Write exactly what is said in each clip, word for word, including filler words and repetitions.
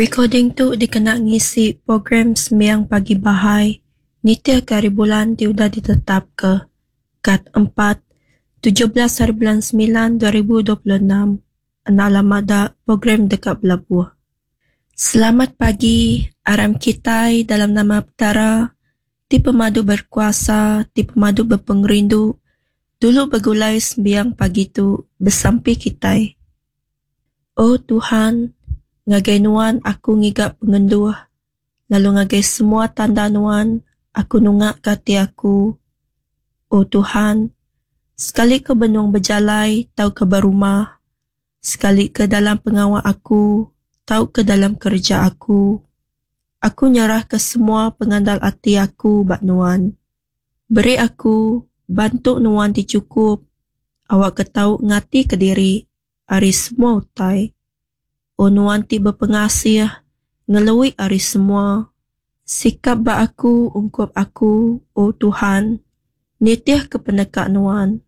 Rekoding tu dikena ngisi program Sembiang Pagi Baha'i nitihka haribulan ti udah ditetapka, Kad empat, tujuh belas haribulan semilan dua ribu dua puluh enam, enda lama da program deka belabuh. Selamat pagi, aram kitai dalam nama Petara, ti pemadu berkuasa, ti pemadu bepengerindu, dulu begulai sembiang pagi tu besampi kitai. O Tuhan, ngagai Nuan aku ngiga pengenduh, lalu ngagai semua tanda Nuan aku nungaka ati aku. O Tuhan, sekali ke benung bejalai tauka berumah, sekali ke dalam pengawa aku tauka dalam kereja aku, aku nyerahka semua pengandal ati aku ba Nuan. Beri aku bantu Nuan ti chukup, awakka tau ngatika diri ari semua utai. O Nuan ti bepengasih, ngelui ari semua. Sikap ba aku ungkup aku, O Tuhan, nitihka peneka Nuan,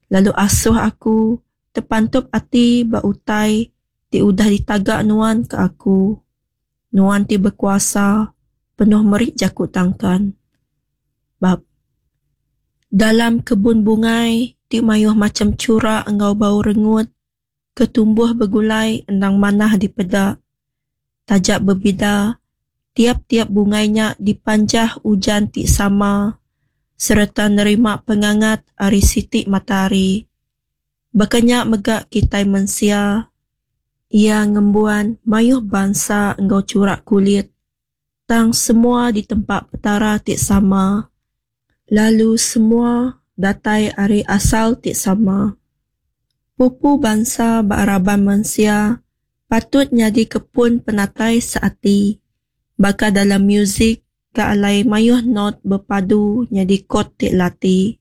lalu asuh aku tepantup ati ba utai ti udah ditaga Nuan ke aku. Nuan ti bekuasa, penuh meri jaku tangkan. Bab Dalam kebun bungai ti mayuh macham chura enggau bau rengut, ke tumbuh begulai endang manah dipeda. Taja bebida, tiap-tiap bungai nya dipanjah ujan ti sama sereta nerima pengangat ari siti matahari. Baka nya mega kitai mensia. Iya ngembuan mayuh bansa enggau chura kulit, tang semua ditempa Petara ti sama, lalu semua datai ari asal ti sama. Pupu bansa ba raban mensia patut nyadika pun penatai seati, baka dalam muzik ke alai mayuh not bepadu nyadi kod ti lati.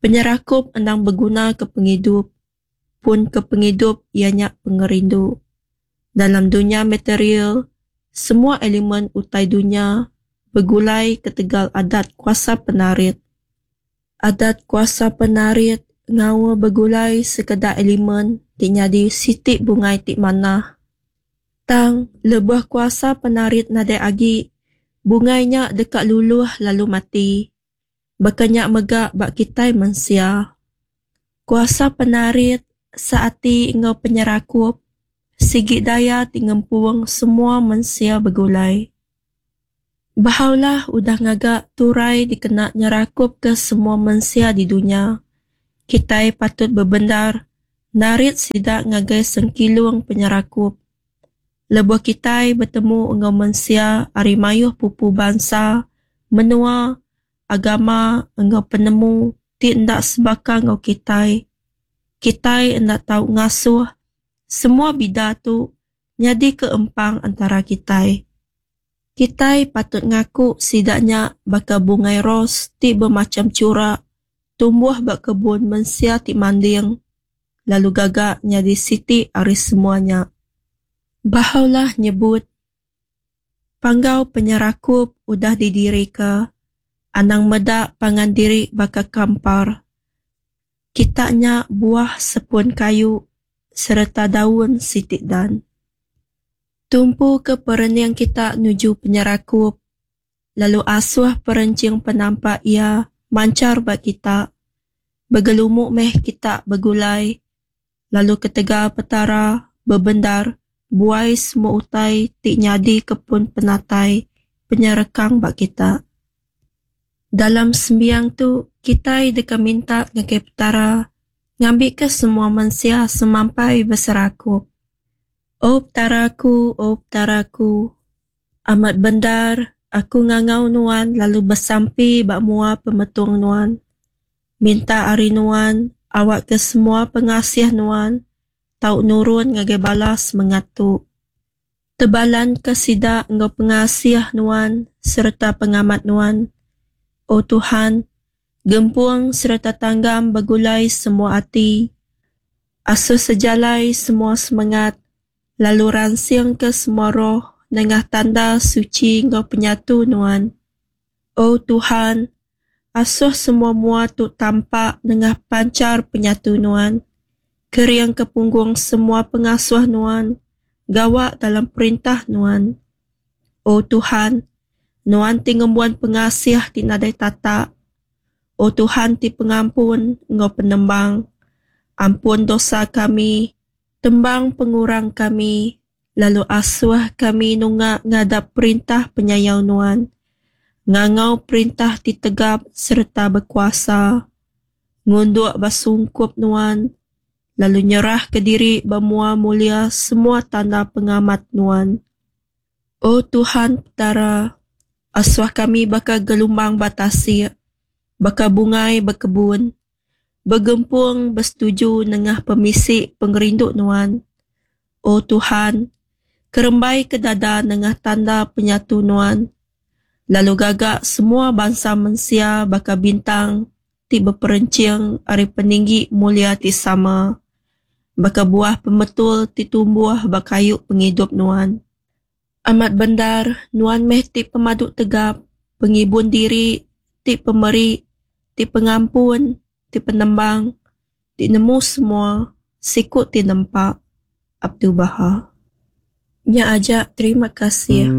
Penyerakup endang beguna ke pengidup. Pun ke pengidup iya nya pengerindu. Dalam dunya material, semua elemen utai dunya begulai ketegal adat kuasa penarit. Adat kuasa penarit ngaul begulai sekeda elemen ti nyadi siti bungai ti manah. Tang, lebuh kuasa penarit nadai agi, bungai nya deka luluh lalu mati. Baka nya mega ba kitai mensia. Kuasa penarit, seati enggau penyerakup sigi daya ti ngempung semua mensia begulai. Baha'u'llah udah ngaga turai dikena nyerakupka semua mensia di dunya. Kitai patut bebendar narit sida ngagai sengkilung penyerakup. Lebuh kitai betemu enggau mensia ari mayuh pupu bansa, menua, agama enggau penemu ti enda sebaka enggau kitai, kitai enda tau ngasuh semua bida tu nyadika empang entara kitai. Kitai patut ngaku sida nya baka bungai ros ti bemacham chura tumbuh ba kebun mensia ti manding lalu gaga nyadi siti ari semua nya. Baha'u'llah nyebut, Panggau penyerakup udah didirika, anang meda pangan diri baka kampar. Kita nya buah sepun kayu sereta daun siti dan. Tumpu ke perening kita nuju penyerakup, lalu asuh perenching penampak iya manchar ba kita. Begelumu meh kita begulai, lalu ketegal Petara bebendar buai semua utai ti nyadika pun penatai penyerekang ba kita. Dalam sembiang tu, kitai deka minta ngagai Petara ngambika semua mensia semampai beserakup. O Petara aku, O Petara aku, amat bendar aku ngangau Nuan lalu besampi ba mua pemetung Nuan. Minta ari Nuan awakka semua pengasih Nuan tau nurun ngagai bala semengat tu. Tebalanka sida enggau pengasih Nuan sereta pengamat Nuan. O Tuhan, gempung sereta tanggam begulai semua ati. Asuh sejalai semua semengat, lalu ransingka semua roh nengah tanda suchi enggau penyatu Nuan. O Tuhan, asuh semua mua tu tampak nengah panchar penyatu Nuan. Keringka punggung semua pengasuh Nuan gawa dalam perintah Nuan. O Tuhan, Nuan ti ngembuan pengasih ti nadai tatak, O Tuhan ti pengampun enggau penembang, ampun dosa kami, tembang pengurang kami, lalu asuh kami nunga ngadap perintah penyayau Nuan, ngangau perintah ti tegap sereta bekuasa, ngunduk ba sungkup Nuan, lalu nyerahka diri ba mua mulia semua tanda pengamat Nuan. O Tuhan Petara, asuh kami baka gelumbang ba tasik, baka bungai ba kebun, begempung besetuju nengah pemisi pengerindu Nuan. O Tuhan, kerembaika dada nengah tanda penyatu Nuan, lalu gaga semua bansa mensia baka bintang ti beperenching ari peninggi mulia ti sama, baka buah pemetul ti tumbuh ba kayu pengidup Nuan. Amat bendar, Nuan meh ti pemadu tegap, pengibun diri, ti pemeri, ti pengampun, ti penembang, ti nemu semua, siku ti nempa. Abdu'l-Bahá. Nya aja, terima kasih.